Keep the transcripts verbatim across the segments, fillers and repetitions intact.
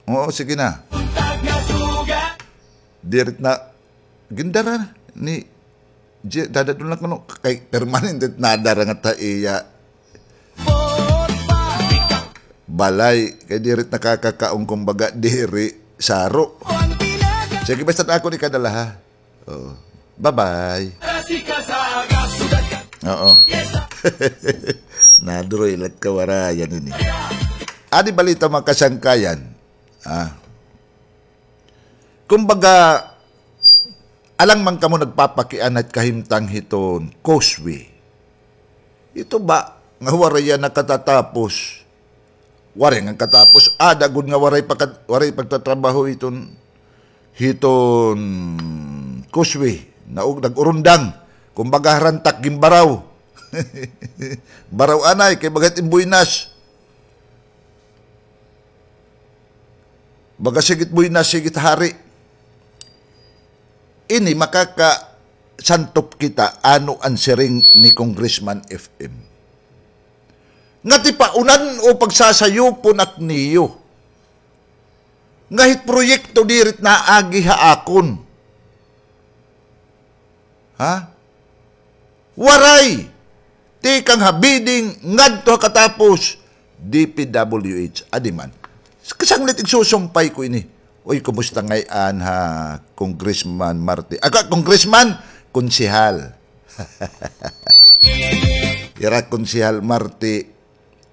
Oo, sige na. Diri na, gindara ni J-, dadad-on la kuno, kay permanente nadara ngada ha iya balay, kay diri nakakakaon, kumbaga, diri saro. Sige, basta ako ni kadala, ha? Oo. Bye-bye. Oo. Naduro ilat kawarayan ini. Adi balita, mga kasangkayan. Ah. Kumbaga, alang man kamo nagpapakiana hit kahimtang hiton causeway. Ito ba nga waray yana katatapos? Waray nga katapos, ada gud nga waray pagka-, waray pagtatrabaho hiton, hiton causeway. Naug-, nag-urundang. Kumbaga, harantak, ginbaraw. Baraw anay, kay bagat in buenas. Baga sigit buenas, sigit hari. Ini makakasantop kita ano an siring ni Congressman F M. Nga tipaunan o pagsasayupon ak niyo. Nga hit proyekto diri it naagi ha akon. Ha? Waray. Tikang ha bidding, ngadto ha katapos, D P W H. Adi man. Kasanglit igsusumpay ko ini. Uy, kumusta ngay-an ha, Congressman Marti? Aka, Congressman, konsehal. Ira Konsehal Marti,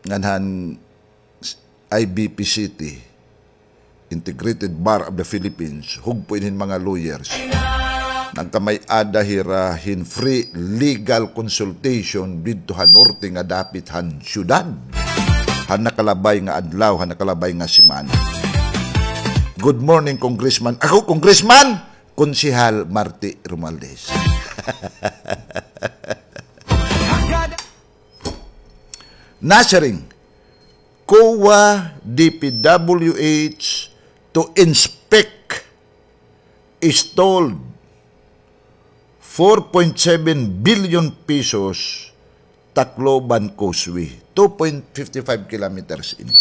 ngan han I B P City, Integrated Bar of the Philippines, hugpo ini hin mga lawyers. Nagkamay-ada hira hin free legal consultation didto ha norte nga dapit han syudad. Han nakalabay nga adlaw, han nakalabay nga semana. Good morning, Congressman. Ako, Congressman, Konsehal Marti Romualdez. Nasiring, COA, D P W H to inspect stalled four point seven billion pesos Tacloban Causeway, two point fifty five kilometers ini.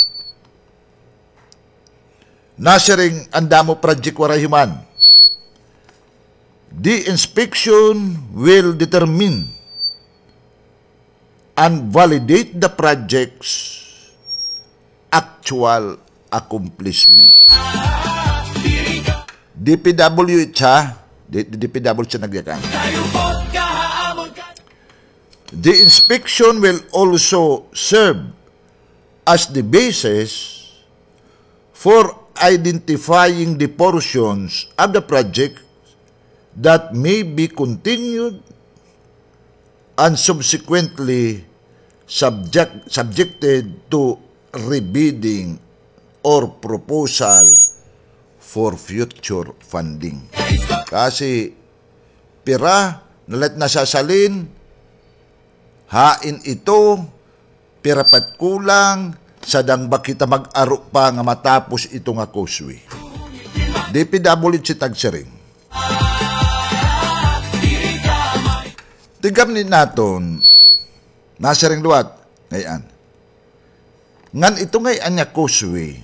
Nasiring an damo project waray human. The inspection will determine and validate the project's actual accomplishment. D P W H, ha? D-, D P W H nagyakan. The inspection will also serve as the basis for identifying the portions of the project that may be continued and subsequently subject-, subjected to rebidding or proposal for future funding. Kasi pira na la it nasasalin, hain ito, pira pa it kulang, sadang ba kita mag-aro pa nga matapos ito nga causeway. D P W H it nagsiring. Tigam ni naton, nasiring liwat, ngay-an. Ngan ito ngay-an nga causeway,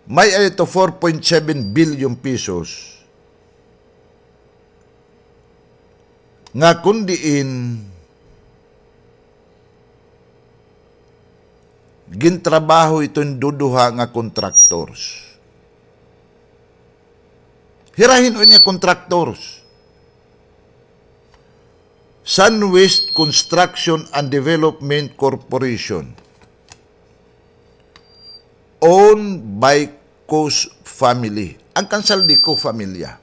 may-ada ito four point seven billion pesos nga kon diin gintrabaho ito hin duduha nga contractors. Hira hin-o ini nga contractors? Sunwest Construction and Development Corporation, owned by Cos family. An Cansaldico familya.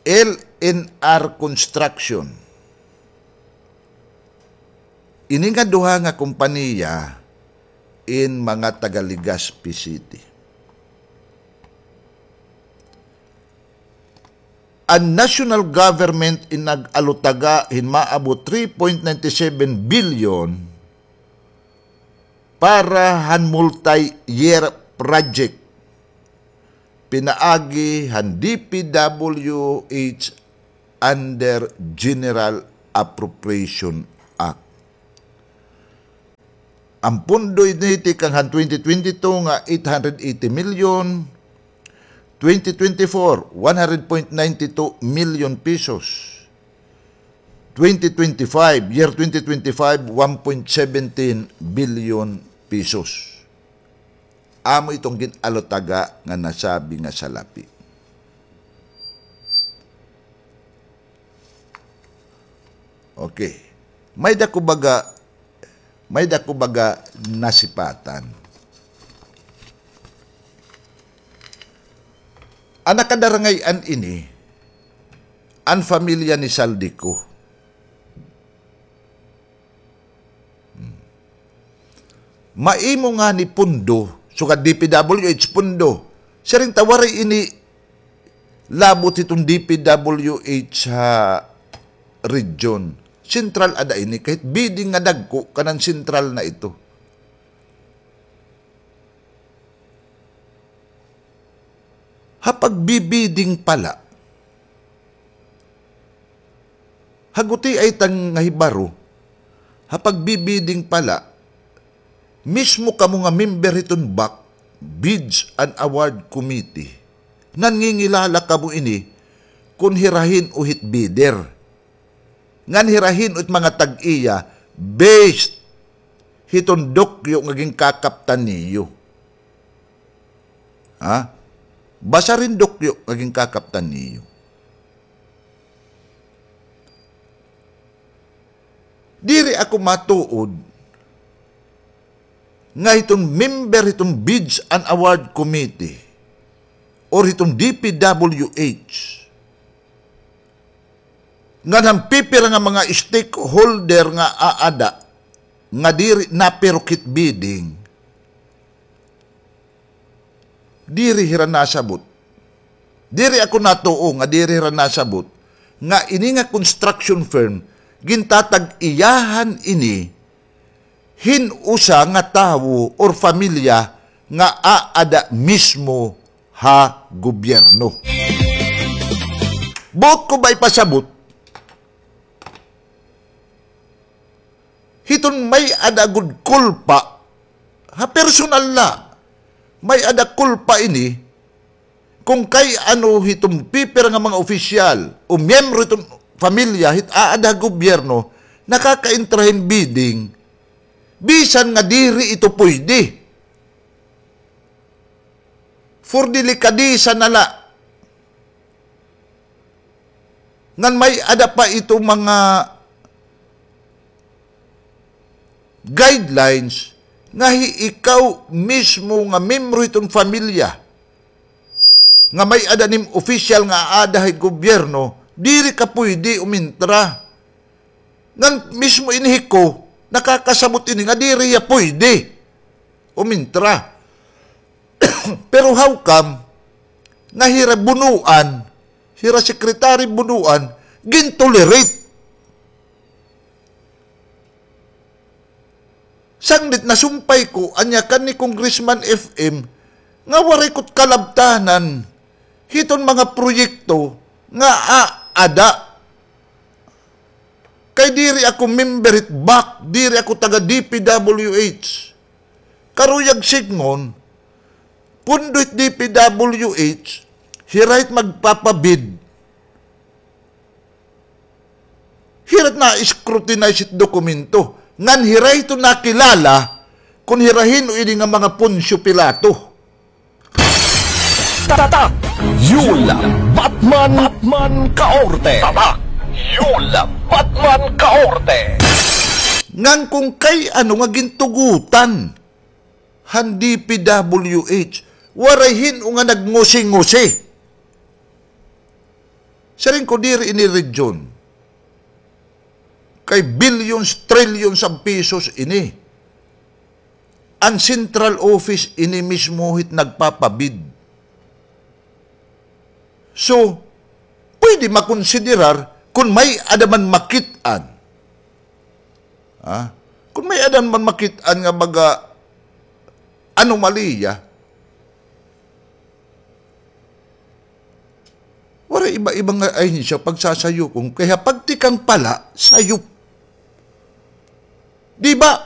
L N R Construction. Ini nga duha nga kompanya in mga taga Legazpi City. An national government in nag-alutaga hin maabot three point nine seven billion para han multi-year project pinaagi han D P W H under General Appropriation Act. An pondo ini tikang han twenty twenty-two nga eight hundred eighty million, twenty twenty-four, one hundred point nine two million pesos. Twenty twenty-five, year twenty twenty-five, one point seventeen billion pesos. Amo iton gin-alutaga nga nasabi nga salapi. Okay. May-ada ko baga, may-ada ko baga nasipatan. An nakadarangay-an ini, an pamilya ni Zaldy Co. Hmm. Maimo ngani pondo, sugad D P W H pondo. Siring ta waray ini labot hiton D P W H ha region. Sentral ada ini, kay it bidding nga dagko, kanan sentral na ito. Ha pagbibidding pala, ha gutiay ta nga hibaro, ha pagbibidding pala, mismo kamo nga member hiton BAC, Bids and Award Committee, nangingilala kamo ini kon hira hin-o hit bidder. Ngan hira hin-o it mga tag-iya, based hiton dokyo nga ginkakaptan niyo. Ha? Basta hiton dokyo nga ginkakaptan niyo. Diri ako matuod nga hiton member hiton Bids and Award Committee or hiton D P W H, ngan han pipira nga mga stakeholder nga aada nga diri napirok hit bidding, diri hira nasabot. Diri ako natuo nga diri hira nasabot nga ini nga construction firm, gintatag-iyahan ini hin usa nga tawo or pamilya nga aada mismo ha gobyerno. Buot ko ba ipasabot? Hiton may-ada gud kulpa, ha personal la, may-ada kulpa ini, kon kay ano hiton pipira nga mga opisyal o miyembro hiton pamilya hit aada ha gobyerno, nakakaentra hin bidding, bisan nga diri ito pwede. For delikadesa na la. Ngan may-ada pa ito mga guidelines nga hi-, ikaw mismo nga membro hiton pamilya nga may-ada nim opisyal nga aada ha gobyerno, diri ka pwede umintra. Ngan mismo ini hi Co, nakakasabot ini nga diri hiya pwede umintra. Pero how come nga hira Bonoan, hira Secretary Bonoan, gintolerate? Sanglit nasumpay ko, ania kan ni Congressman F M, nga waray ko't kalabtanan hiton mga proyekto nga aada. Kay diri ako member hit BAC, diri ako taga D P W H. Karuyag sidngon, pondo hit D P W H, hira it magpapabid. Hira it na-scrutinize it dokumento. Ngan hira ito nakilala kon hira hin-o ini nga mga Poncio Pilato. Tatak Yul Batman, Batman Kaorte. Tatak Yul Batman Kaorte. Ngan kon kay ano nga gintugutan han D P W H, waray hin-o nga nagngusi-ngusi. Siring ko diri ini region. Kay billions, trillions of pesos ini. An central office ini mismo hit nagpapabid. So, pwede makonsiderar kon may-ada man makit-an. Ha? Kon may-ada man makit-an nga baga anomalya, waray iba-iba nga ahensya pagsasayupon, kay ha pagtikang pala, sayop. Di ba?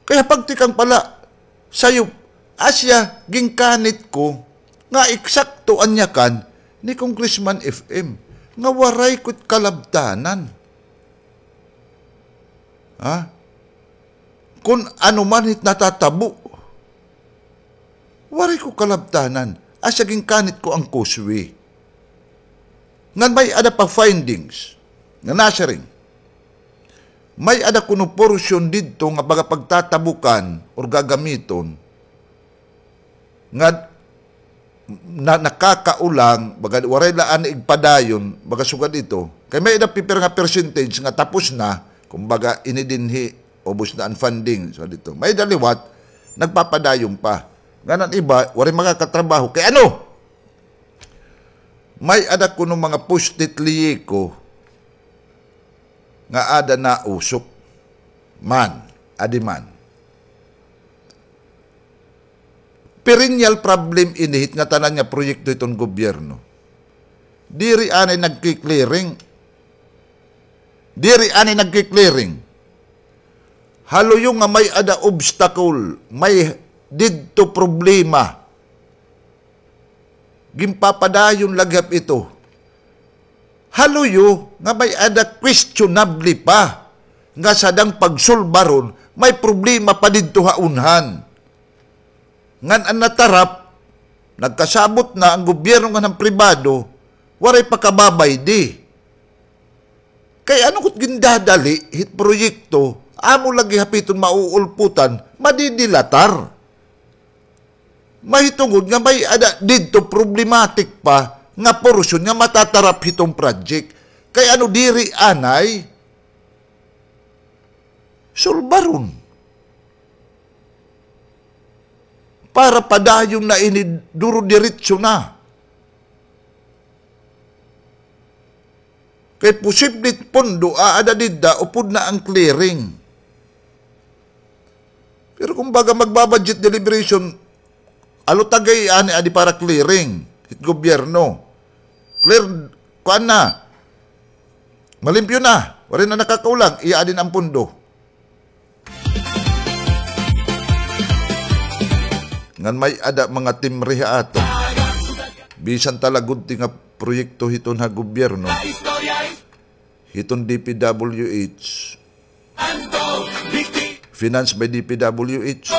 Kay Pagtikang pala, sayop, asya, ginkanit ko, nga eksakto an yakan ni Congressman F M, nga waray ko't kalabtanan. Ha? Kun ano man it natatabo, waray ko kalabtanan. Asya ginkanit ko an causeway. Ngan may-ada pa findings nga nasiring, may-ada kuno porsyon didto nga baga pagtatabukan or gagamiton nga na, nakakaulang, baga waray la anay igpadayon, baga sugad ito. Kay may-ada pipira nga percentage nga tapos na, kumbaga ini dinhi, ubos na an funding, sugad ito. May-ada liwat, nagpapadayon pa. Ngan an iba, waray makakatrabaho. Kay ano? May-ada kuno mga post-it liiko nga ada nausok man, adi man. Perennial problem ini hit ngatanan nga proyekto hiton gobyerno. Diri anay nagki-clearing. Diri anay nagki-clearing. Haluyo nga may-ada obstacle, may didto problema. Ginpapadayon la gihap ito. Haluyo nga may-ada questionable pa nga sadang pagsulbaron, may problema pa didto ha unhan. Ngan an natarap, nagkasabot na an gobyerno ngan an pribado, waray pa kababaydi. Kay ano ko't gindadali hit proyekto, amo lagi hapiton mauulputan, madidilatar. Mahitungod nga may-ada didto problematic pa nga porsyon nga matatarap hiton project. Kay ano diri anay sulbaron. Para padayon na ini, duro-diretso na. Kay posible pondo aada dida upod na an clearing. Pero kumbaga magbabudget deliberation, alo tagay ani adi para clearing hit gobyerno. Clear, kuan na. Malimpyo na. Waray na nakakaulang, iya adi na an pondo. Ngan may-ada mga timre ha aton. Bisan talagudti nga proyekto hiton ha gobyerno, hiton D P W H, finance by D P W H.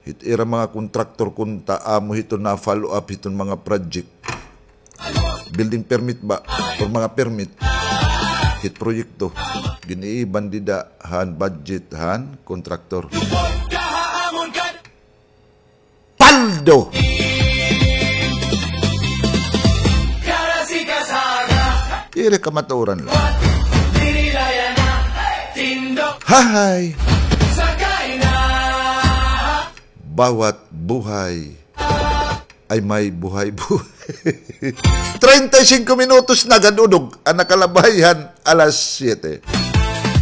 Hit ira mga kontraktor kunta amo hiton na-follow up hiton mga project. Building permit ba? Or mga permit. Hit proyekto. Gin-iiban dida han budget han kontraktor. Paldo! Ira kamatuoran la. Hahay! Bawat buhay ay may buhay-buhay. Treinta y cinco minutos na gad-udog an nakalabay han alas siyete.